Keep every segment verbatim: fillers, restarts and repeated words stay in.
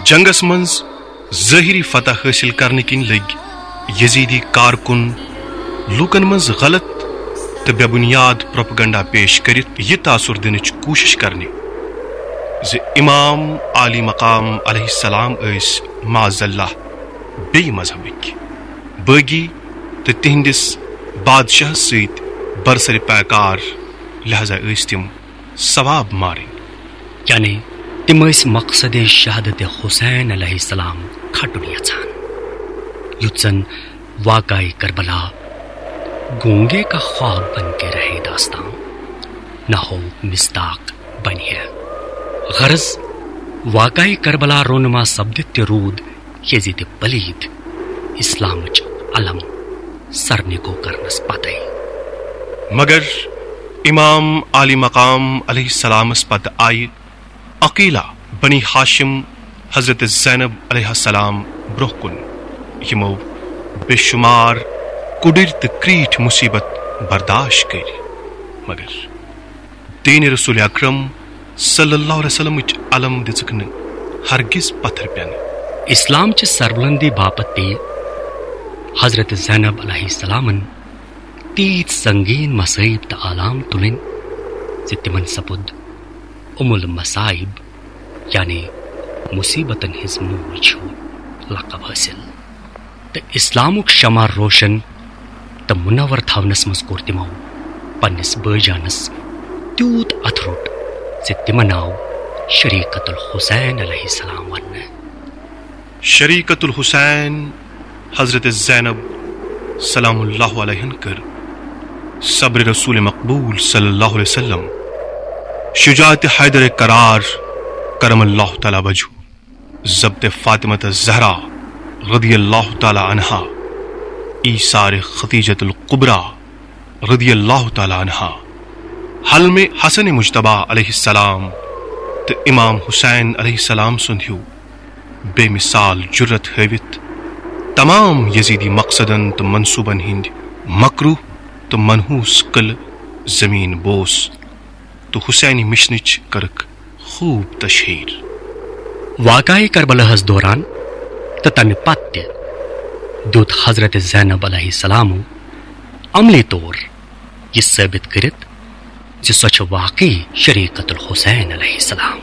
جنگس منٛز ظٲہری فتح حٲصِل کرنہٕ کِنۍ لٔگۍ یزیدی کارکُن لوٗکن منٛز غلط تہٕ بے بُنیاد پروپیگنڈا پیش کٔرِتھ یہِ تاثر دِنٕچ کوٗشش کرنہِ زِ امام عالی مقام علیہ السلام ٲسۍ معاذ اللہ بیٚیہِ مذہبٕکۍ، بٲغی تہٕ تِہنٛدِس بادشاہس سۭتۍ برسر پیکار، لہذا ٲسۍ تِم ثواب مارٕنۍ۔ یعنی تِم ٲسۍ مقصد شہادت حسین علیہ السلام کھٹُن یژھان، یُتھ زن واقعہ کربلا گونگے کا خواب بن کے رہے داستان، نہ ہو مصداق بنہِ ہے۔ غرض، واقعہ کربلا رونما سپدِتھ تہِ روٗد یزید پلید اسلامٕچ علم سرنگو کرنس پتے۔ مگر امام عالی مقام علیہ السلامس پتہٕ آیہِ عقیلہ بنی ہاشم حضرت زینب علیہ السلام برونٛہہ کُن، یِمو بے شمار کُڈٕرۍ تہٕ کریٖٹھۍ مصیبت برداشت کٔرۍ، مگر دین رسول اکرم صلی اللہ علیہ وسلمٕچ علم دِژٕکھ نہٕ ہرگز پتھر پٮ۪نہٕ۔ اسلام چہِ سربلندی باپتھ پیٚیہِ حضرت زینب علیہ السلامن تیٖتۍ سنگین مصائب تہٕ آلام تُلٕنۍ زِ تِمن سپُد ام المصائب، یعنی مصیبتن ہٕنٛز موج ہیوٗ لقب حٲصِل۔ تہٕ اسلامُک شمع روشن تہٕ منور تھاونس منٛز کوٚر تِمو پننِس بٲے جانس تیوٗت اتھٕ روٚٹ زِ تِمن آو شریکت الحسین علیہ السلام وننہٕ۔ شریکت الحسین حضرت زینب سلام اللہ علیہن کٔر صبر رسول مقبول صلی اللہ علیہ وسلم، شجاعت حیدر کرار کرم اللہ تعالی وجہ، ضبط فاطمہ الزہرا رضی اللہ تعالی عنہا، ایثار خدیجۃ الکبریٰ رضی اللہ تعالی عنہا، حلم حسن مجتبیٰ علیہ السلام تہٕ امام حسین علیہ السلام سُنٛد ہیوٗ بے مثال جرت ہٲوِتھ تمام یزیدی مقصدن تہٕ منصوبن ہٕنٛدۍ مکروہ تہٕ منحوس قلعہٕ زمین بوس تہٕ حسینی مشنٕچ کٔرٕکھ خوب تشہیر۔ واقعہ کربلاہس دوران تہٕ تمہِ پتہٕ تہِ دیُت حضرت زینب علیہ السلام عملی طور یہِ ثٲبت کٔرِتھ زِ سۄ چھِ واقعی شریکت الحسین علیہ السلام۔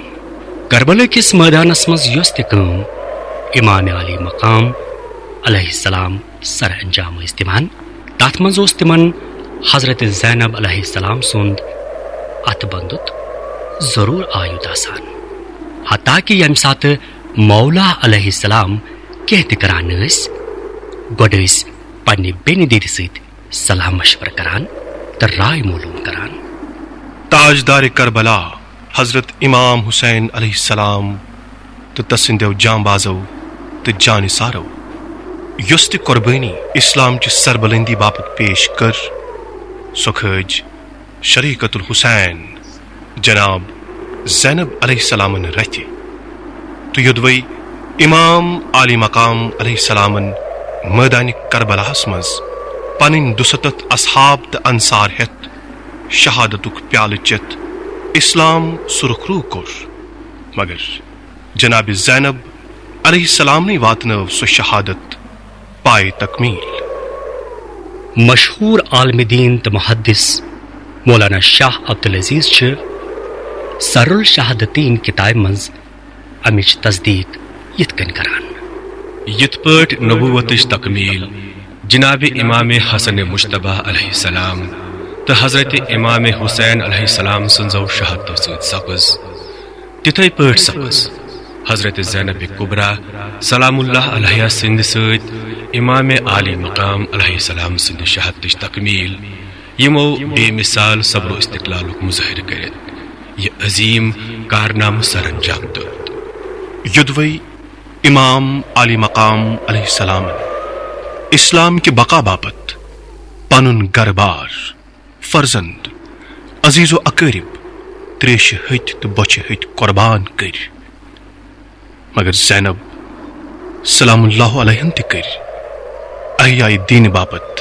کربلا کِس مٲدانس منٛز یۄس تہِ کٲم امام عالی مقام علیہ السلام سر انجام ٲسۍ دِوان، تتھ منٛز اوس تِمن حضرت زینب علیہ السلام سُنٛد اتھٕ بنٛدُت ضروٗر آیُت آسان۔ حتیٰ کہ ییٚمہِ ساتہٕ مولا علیہ السلام کینٛہہ تہِ کران ٲسۍ، گۄڈٕ ٲسۍ پننہِ بیٚنہِ دیدِ سۭتۍ صلاح مشورٕ کران تہٕ راے معلوم کران۔ تاجدار کربلا حضرت امام حسین علیہ السلام تہٕ تسٕنٛدیو جانبازو تہٕ جانثارو یۄس تہِ قربٲنی اسلام چہِ سربلندی باپتھ پیش کٔر، سۄ کھٲج شریکت الحسین جناب زینب علیہ السلامن رتھِ۔ تہٕ یوٚدوَے امام عالی مقام علیہ السلامن مٲدانِ کربلاہس منٛز پنٕنۍ دُستتھ اصحاب تہٕ انصار ہٮ۪تھ شہادتُک پیالہٕ چٮ۪تھ اسلام سرخ رو کوٚر، مگر جناب زینب علیہ السلامنٕے واتنٲو سۄ شہادت پائے تکمیل۔ مشہوٗر عالم دین تہٕ محدث مولانا شاہ عبدالعزیز چھِ سر الشہادتین کتابہِ منٛز امِچ تصدیق یِتھ کٔنۍ کران۔ یِتھ پٲٹھۍ نبوتٕچ تکمیل جناب امام حسن مجتبیٰ علیہ السلام تہٕ حضرت امام حسین علیہ السلام سٕنٛزو شہادتو سۭتۍ سپٕز، تِتھے پٲٹھۍ سپٕز حضرت زینب کبریٰ سلام اللہ علیہا سٕنٛدِ سۭتۍ امام عالی مقام علیہ السلام سٕنٛدِ شہادتٕچ تکمیل، یِمو بے مثال صبر و استقلالُک مظٲہرٕ کٔرِتھ یہِ عظیم کارنامہٕ سر انجام دیُت۔ یوٚدوَے امام عالی مقام علیہ السلامن اسلام کہِ بقا باپتھ پنُن گرٕ بار، فرزند، عزیز و اقارب، تریشہِ ہتۍ تہٕ بۄچھِ ہتۍ قربان کٔرۍ، مگر زینب سلام اللہ علیہن تہِ کٔرۍ احیاء دین باپتھ